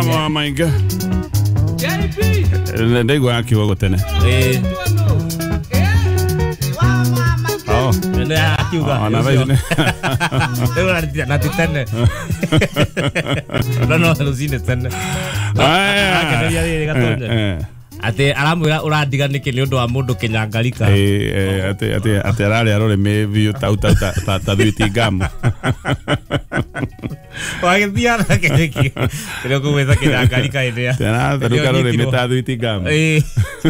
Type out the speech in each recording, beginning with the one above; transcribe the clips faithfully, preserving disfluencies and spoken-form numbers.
Mama mainga ndaigua akiuga gũtene. Ĩĩ. Oh. Nĩ akiuga. Ona thaa ici nĩ- Rĩu ararĩtia na ti tene. No no rũcinĩ tene. Aya. Arakeneria rĩrĩ Gatonye. Eh, eh. Atĩ aramwĩra ũrandiga nĩkĩ nĩ ũndũ wa mũndũ kĩnyangarika. Eh, eh, atĩ atĩ atĩ ararĩa rũrĩmĩ biũ tau tau ta ta ta thwiti ngamu. Wagĩthiaga nake nĩkĩ? Kĩrĩa ũkũgwĩta kĩnyangarika hĩndĩ ya. Atĩ aratherũka rũrĩmĩ ta thwiti ngamu. Ĩĩ.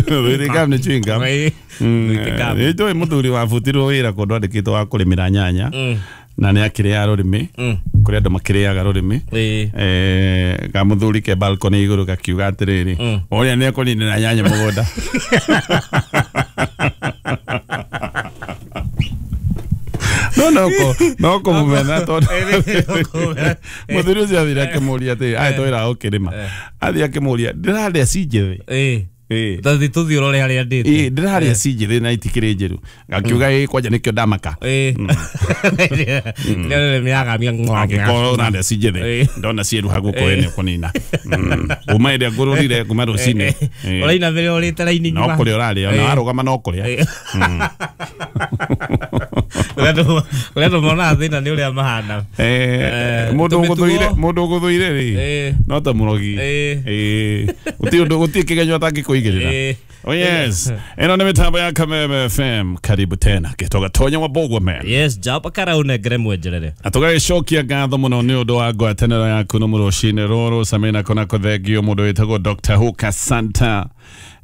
Thwiti ngamu nĩ chewing gum. Ĩĩ. Thwiti gum. Nĩ njũĩ mũthuri wabutirwo wĩra kũndũ andĩkĩtwo wa kũrĩmĩra nyanya Mm. na nĩ akĩrĩaga rũrĩmĩ. Mm. Kũrĩ andũ makĩrĩaga rũrĩmĩ. Ĩĩ. Eh, kamũthuri ke balcony igũrũ gakiuga atĩrĩrĩ, Mm. ũrĩa nĩ ekũninĩra nyanya mũgũnda. No no ko no kũmũmena tondũ mũthuri ũcio athire akĩmũria atĩrĩ, aya twĩra ũkĩrĩma, athiĩ akĩmũria ndĩrarĩa ci njĩthĩ. Ĩĩ. Ĩĩ. Tũthiĩ tũthiĩ ũrore harĩa ndĩte. Ĩĩ, ndĩrarĩa ci njĩthĩ na itikĩrĩ njĩru. Gakiuga ĩĩ kwanja nĩkĩo ndamaka. Ĩĩ. Nĩ rũrĩmĩ yagamia. Angĩkorwo ũrarĩa ci njĩthĩ Ĩĩ. ndona ciĩruha gũkũ ĩ nĩ ũkũnina. Mm. Kuma ĩrĩa ngũrũrire kuma rũcinĩ. Ĩĩ. Ũrainamĩrĩra ũrĩte raini No ng'ima. kũrĩa ũrarĩa ona Ĩĩ. warũgama no kũrĩa. Ĩĩ. Ũrĩa andũ ũrĩa andũ monaga thĩna nĩ ũrĩa mahana. Eh, Eh, mũndũ tũmĩtugo- ũgũthũire mũndũ ũgũthũire rĩ Ĩĩ. no ta mũrogi. Ĩĩ. Ĩĩ. Gũtirĩ ũndũ gũtirĩ kĩgenyo atangĩkũigĩrĩra. Ĩĩ. Oh yes. Ĩno nĩ mĩtambo ya Kameme F M. Karibu tena. Gĩtoga Tonya wa Bogwa man. Yes, jaba karaunengere mwenjerere. Na tũgagĩcokia ngatho mũno nĩ ũndũ wa ngwatanĩro yaku no mũrũcinĩ rũrũ Samina kona kũthengio mũndũ wĩtagwo Doctor Hooker Santa.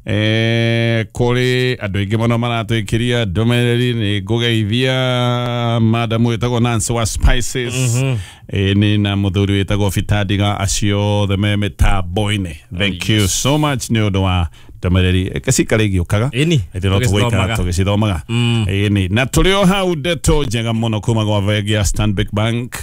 Eh, kũrĩ andũ aingĩ mũno maratwĩkĩria ndũmĩrĩri nĩ ngũgeithia madamu wĩtagwo Nancy wa Spices. Mm-hmm. Eh, nĩ na mũthuri wĩtagwo Fitadiga acio othe me mĩtambo-inĩ. Thank you so much nĩ ũndũ wa ndũmĩrĩri ĩkĩcikara igĩũkaga. Ĩni. Ĩthĩ no tũgũikara Tũgĩcithomaga. tũgĩcithomaga. Ĩni na tũrĩ o hau ndeto njega mũno kuma gwa bengi ya Stanbic Bank.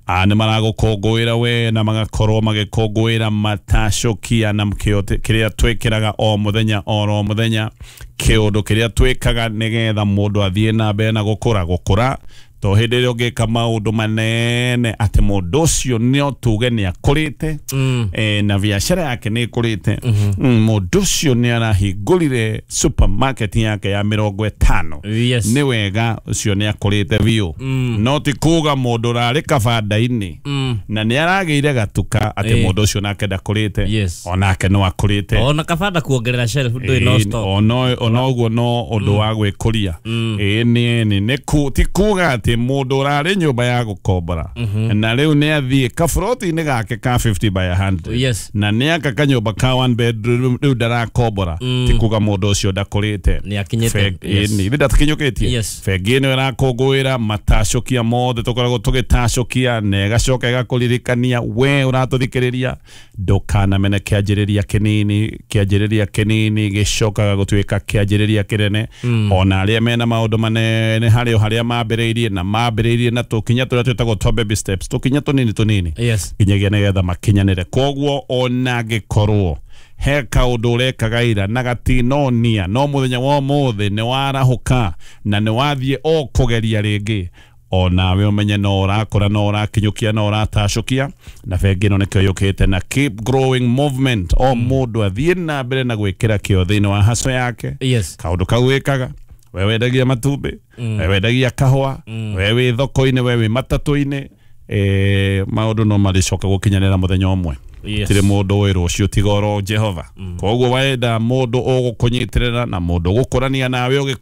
Ah, nĩ maragũkũngũĩra we na magakorwo magĩkũngũĩra matacũkia na kĩo kĩrĩa twĩkĩraga o mũthenya oro mũthenya, kĩũndũ kĩrĩa twĩkaga nĩgetha mũndũ athiĩ na mbere na gũkũra gũkũra to hĩndĩ ĩrĩa ũngĩka maũndũ manene atĩ mũndũ ũcio no tuge nĩ akũrĩte. Mm. Eh, na biacara yake nĩ ĩkũrĩte. Mm, mũndũ ũcio nĩ arahingũrire supermarket yake ya mĩrongo ĩtano. Yes. Nĩ wega ũcio nĩ akũrĩte biũ. No ti kuga mũndũ ũrarĩ kabanda-inĩ Mm. na nĩ aragĩire gatuka atĩ Ĩĩ. mũndũ ũcio nake ndakũrĩte. Yes. Onake no akũrĩte. Ona kabanda kuongerera shelf ndũrĩ no Ĩĩ, stock. ono ona ũguo no ũndũ wa gwĩkũria. Ĩĩ nĩ nĩ nĩ ku ti kuga atĩ mũndũ ũrarĩ nyũmba ya gũkombora na rĩu nĩ athiĩ kaburoti-inĩ gake ka fifty by a hundred. Yes. Na nĩ aka kanyũmba ka one bedroom rĩu ndarakombora, ti kuga mũndũ ũcio ndakũrĩte. Nĩ akinyĩte. Bengi- Yes. ĩĩ, nĩ ndakinyũkĩtie. Yes. Bengi ĩno ĩrakũngũĩra matacũkia mothe tũkoragwo tũgĩtacũkia na ĩgacoka ĩgakũririkania we ũratũthikĩrĩria ndũkanamene kĩanjĩrĩria kĩnini kĩanjĩrĩria kĩnini gĩcokaga gũtuĩka kĩanjĩrĩria kĩnene. Ona arĩa mena maũndũ manene harĩ o harĩa mambĩrĩirie na mambĩrĩirie na tũkinya tũrĩa twĩtagwo twa baby steps, tũkinya tũnini tũnini Yes. nginyagia nĩgetha makinyanĩre. Koguo ona angĩkorwo he kaũndũ ũrekaga ira na gatinonia no mũthenya wa ũmũthĩ nĩ warahũka na nĩ wathiĩ o kũgeria rĩngĩ, onawe ũmenye no ũrakũra no ũrakinyũkia no ũratacũkia na bengi ĩno nĩkĩo yũkĩte na keep growing movement. O mũndũ athiĩ na mbere na gwĩkĩra kĩo thĩinĩ wa haco yake. Yes. Kaũndũ kau wĩkaga we wendagia matumbĩ, we wendagia kahũa, we wĩ thoko-inĩ, we wĩ matatũ-inĩ, eh, maũndũ no marĩcoka gũkinyanĩra mũthenya ũmwe. Yes. Tirĩ mũndũ ũĩ rũciũ tiga oro Jehova. Koguo wenda mũndũ ũgũkũnyitĩrĩra na mũndũ ũgũkũrania nawe ũgĩkũra.